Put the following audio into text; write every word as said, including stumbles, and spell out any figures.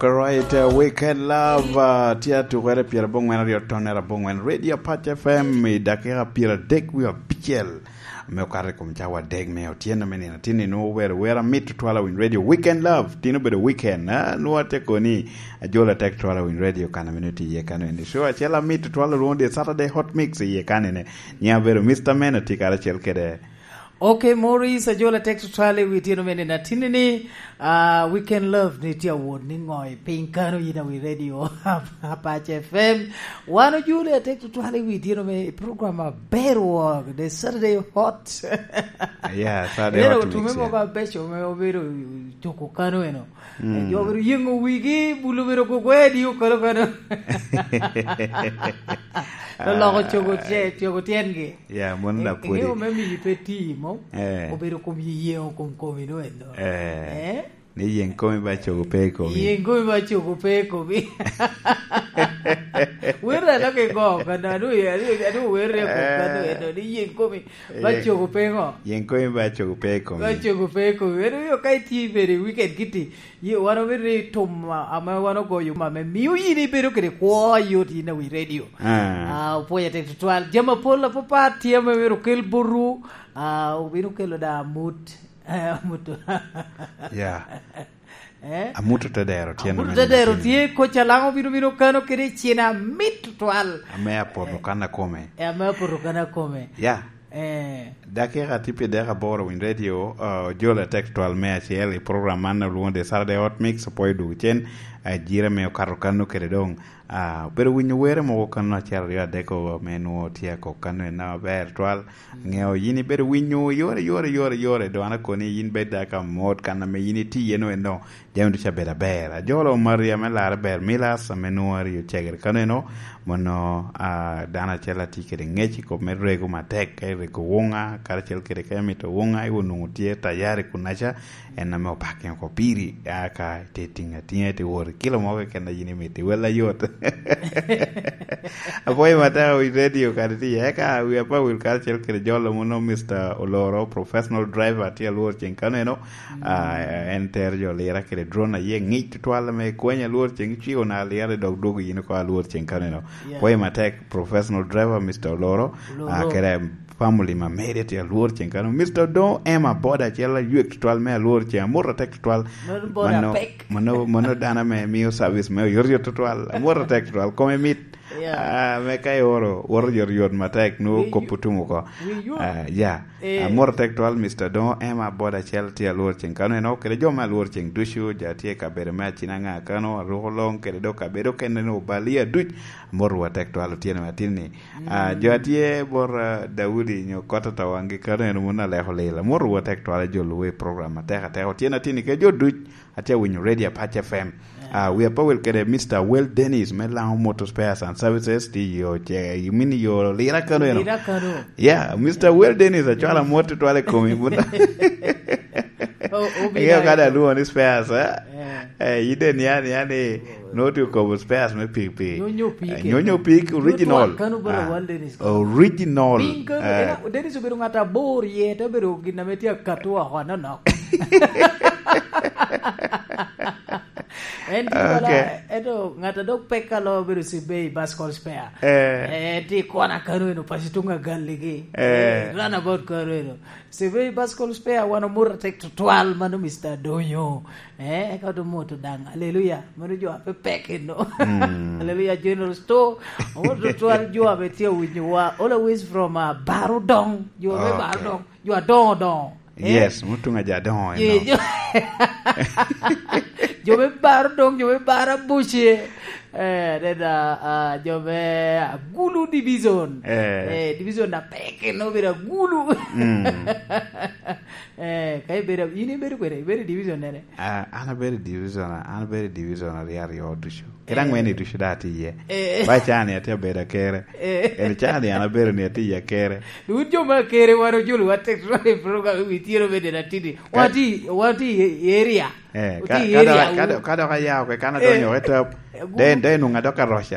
Right, uh, Weekend Love, uh, tye atukere pyerabongwen aryo tonere abongwen, Radio Pac F M, i dakika pyeradek wie abicel, ame okato i kom cawa adek me otyeno me nino. Tin ni nwoŋo wer, wer amit tutwal awiny radio. Weekend Love, tin obedo weekend, ah, nwoŋo atye koni, ajolo atek tutwal awiny radio, kan ame nwoŋo tye iye kano eni. Show acel amit tutwal olwoŋo The Saturday Hot Mix iye kanene. Nyiŋa obedo Mister Man, atye karacel kede Ok, Maurice, ajola tek tutwal i wi tyeno mene na tinni ni, ah, Weekend Love ni tye awot ni ŋo i piny kano yin awi radio Apache F M. Wan ojule atek tutwal i wi tyeno me program aber wok, The Saturday Hot. Yeah, Saturday Ero Hot tume Mix, yeah. Mogo abeco me obedo cuko kano eno. Mm. Eh, jo obedo yengo wigi, bulu obedo gogo edi okalo kano. Loloko Ah. Cogo tye-, cogo tyengi. Ya, mon Eh, lapwodi. Iŋeo me miyi pe ti mo, Eh. Obedo kom yi yengo kom komi no eno. Eh. Eh? Ni yeng komi ba cogo pe i komi. Yeng komi ba cogo pe i komi. Wer alo ke go, kano, adu, adu, adu wer re go, kano, Eh. Eno, ni yeng komi ba Yeng-, cogo pe ŋo? Yeng komi ba cogo pe i komi. Ba cogo pe i komi. Eno, yo ka iti bene i weekend kiti, ye, wan obedo ni tum, a-, ame wan ogoyo ame mio yin ibedo kede kwo ayot yin awi radio. Ah. Ah, opwoyo tek tutwal. Jami apol apapat tye ame myero okel botwu. Ah, obino kelo da amut. Eh, amut. Yeah. Eh? Amut te dero tyen Amut ame te dero tye, koca laŋo bino bino kano kede cen amit tutwal. Ame apoto Eh. Kan akome. Eh, ame apoto kan akome. Yeah. Eh. Dakika tye pi dek aboro winy radio, uh, ojolo atek twal me acel i program man olwoŋo The Saturday Hot Mix, opwoyo dwogo cen, uh, jira me okato kano kede doŋ. Uh, obedo winyo were mogo kano acel aryo adek o me nwoŋo tye akok kano en aber twal. Mm. Ŋeo yin ibedo winyo yore, yore, yore, yore, doŋ an akoni yin bed dako amot kan ame yin itye iye no eno. Jami ducu abedo aber. Ajolo Maria me larre ber Milas, ame nwoŋo aryo cegere kano eno, mono, ah, dano acel atye kede ŋec i kop me rego matek, ka irego wuŋa, karacel kede ka imito wuŋa, iwo nwoŋo tye tayari kunaca, en ame opake oko piri, a ka ite tiŋ atiŋa, ite wot i kilo mo keken a yin imito, iwella yot. Apwoyo matek wi radio kadi tye, eka wi apa wil karacel kede jolo mono Mister Oloro, professional driver, tye alwor ceng kano eno, Ah, en tero jo lira kede drone aye ŋic tutwal ame kweny alwor ceng cwio na lira i dog dwogo yin oko alwor ceng kaneno. Yeah. Pwoyo matek, professional driver, Mister Oloro, Oloro. Ah, kede family ma mede tye alwor ceng kano. Mister Odongo Emma boda acel aywek tutwal me alwor ceng. Amut atek tutwal. Mano boda Mano, pek. Mano, mano dano ame mio service me oyotoyot tutwal. Amut atek tutwal. Kome mit. Yeah. Ah, me ka ioro, woro yot yot matek, nwoŋo Wi kop yu-, otum oko. Wi ywak. Ah, yeah. Eh. Amor tek twal, Mister Dongo Emma, boda acel tye alwor ceng kano eno, kede jo me alwor ceng ducu, jo tye i kabedo me acina ŋa kano, aruko long, kede dok kabedo kene ni obalia duc, amor wa tek twal otyeno me atin ni. Ah, mm, jo atye bot, ah, Daudi nyo kot ata wangi kano eno mun aleko lila, amor wa tek twal ajolo we program atek atek otyeno atin ni ke jo duc, Atye awinyo Radio Apac F M. Yeah. Ah, wi apawel kede Mister Well Dennis me Lango Motor Spares and Services, ti yo ce, you mean yo lira kano eno? Lira kano. Yeah, Mister Well Dennis, acwala mot tutwal i komi, buna. O-, o-, Ingeo ka da lwongo ni spares, eh? Yeah. Eh, ide ni ani, ani, noti okobo spares me pikipiki. Nyonyo pik. Eh, nyonyo pik original. Tutwal kano bara Ah, Well Dennis. Original. Piny kano, Eh. ena, Dennis obedo ŋat abor iye, te obedo gin ame tye akato oko anonok. En tye Ok. Wala, ento ŋat a dok pek alo obedo Sibei Baskol Spare. Eh. Eh, tye i kona kano eno, paco tuŋ agalligi. Eh. Eh, runabout kano eno. Sibei Baskol Spare, wan omoto atek tutwal, mano Mister Donyo. Eh, eka oto moto daŋ. Aleluya. Mano jo ape pek eno. Mm. Aleluya. General Store. Omoto tutwal jo ape tye owinyo wa. Always from, uh, Barudong. Jo ape Ok. Barudong. Jo adoŋo doŋo. Eh? Yes, mutuŋ aja adoŋo Ye, eno. Jo, jo me Barudong, jo me Barabuce. Eh, then, uh, uh, jo me Agulu Division. Eh. Eh, division na pek eno obedo Agulu. Mm. Eh, ka ibedo, in ibedo kwene, ibedo i division nene? Ah, an abedo i division, an abedo i division aryo aryo ducu. Kede Eh. Angwen i ducu da atye iye. Eh. Ba cani atye abedo akere. Eh. En cani an abedo ni atye iye akere. Wun jo ma kere wan ojulu wa tek i program wi tiro bede na tidi. Ka- Wati, wati i area. Eh, Wati ka, i ka dok, area ka wu. Dok, ka dok aya oko, kan adonyo Eh. Oko i tap. Eh, gu- Den, den nunga dok aroc